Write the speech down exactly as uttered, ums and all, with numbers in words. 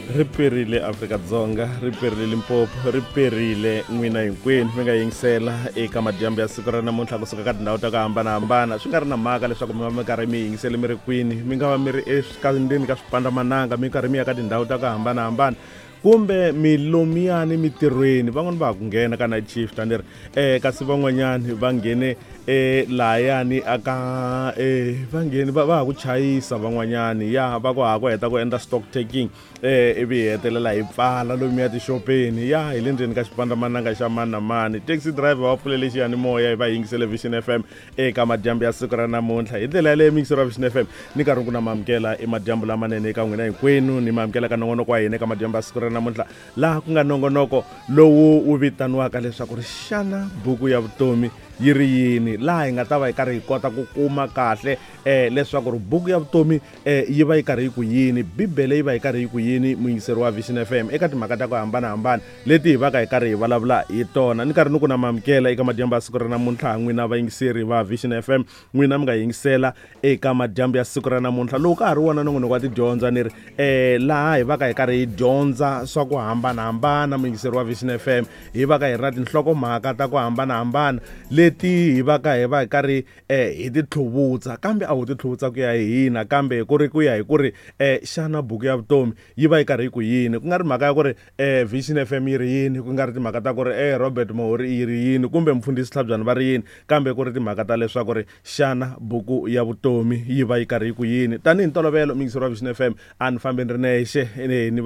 Ri perile Afrika-Dzonga, ri perile Limpopo, ri perile n'wina hinkwenu mi nga yingisela eka madyambu ya siku ra namuntlha kusuka ka tindhawu ta ku hambanahambana. Swi nga ri na mhaka leswaku mi va mi karhi mi yingisele mi ri kwini, mi nga va mi ri endzeni ka swipandamananga, mi karhi mi ya ka tindhawu ta ku hambanahambana, kumbe mi lomuyani mitirhweni. Van'wani va ha ku nghena ka night shift a ni ri um kasi van'wanyani va nghene um lahayani aka um va nghene va va ha ku chayisa van'wanyani, ya va ku ha ku heta ku endla stock taking um ivi hi hetelela hi pfala lomuya tixopeni. Ya hi le ndzeni ka xipandamananga xa mani na mani. Taxi driver va pfulele xiyanimoya hi va yingisele Vision F M eka madyambu ya siku ra namuntlha. Hi ndlela yaleyo miyingiseri wa Vision F M ni karhi ku na maamukela i madyambu lamanene eka n'wina hinkwenu, ni maamukela ka nongonoko wa hina eka madyambu ya siku ra namuntlha, laha ku nga nongonoko lowu wu vitaniwaka leswaku ri xana buku ya vutomi yi ri yini, laha hi nga ta va hi karhi hi kota ku kuma kahle um leswaku ri buku ya vutomi um yi va yi karhi yi ku yini, Bibele yi va yi karhi yi ku yini, muyingiseri wa Vision F M eka timhaka ta ku hambanahambana leti hi va ka hi karhi hi vulavula hi tona. Ni karhi ni ku na maamukela eka madyambu ya siku ra namuntlha n'wina vayingiseri va Vision F M, n'wina mi nga yingisela eka madyambu ya siku ra namuntlha lowu ka ha ri wona nongonoko wa tidyondzo ni ri um laha hi va ka hi karhi hi dyondza swa ku hambanahambana, muyingiseri wa Vision F M, hi va ka hi ri na tinhlokomhaka ta ku hambanahambana leti hi va ka hi va hi karhi um hi ti tlhuvutsa, kambe a ho ti tlhuvutsa ku ya hi hina, kambe ku ri ku ya hi ku ri um xana buku ya vutomi yi va yi karhi yi ku yini, ku nga ri mhaka ya ku ri um Vision F M yi ri yini, ku nga ri timhaka ta ku ri e Robert Mohori yi ri yini kumbe mfundhisi Tlhabyana va ri yini, kambe ku ri timhaka ta leswaku ri xana buku ya vutomi yi va yi karhi yi ku yini. Tanihi ntolovelo muyingiseri wa Vision F M a ni fambi ni ri nexe, ni va ni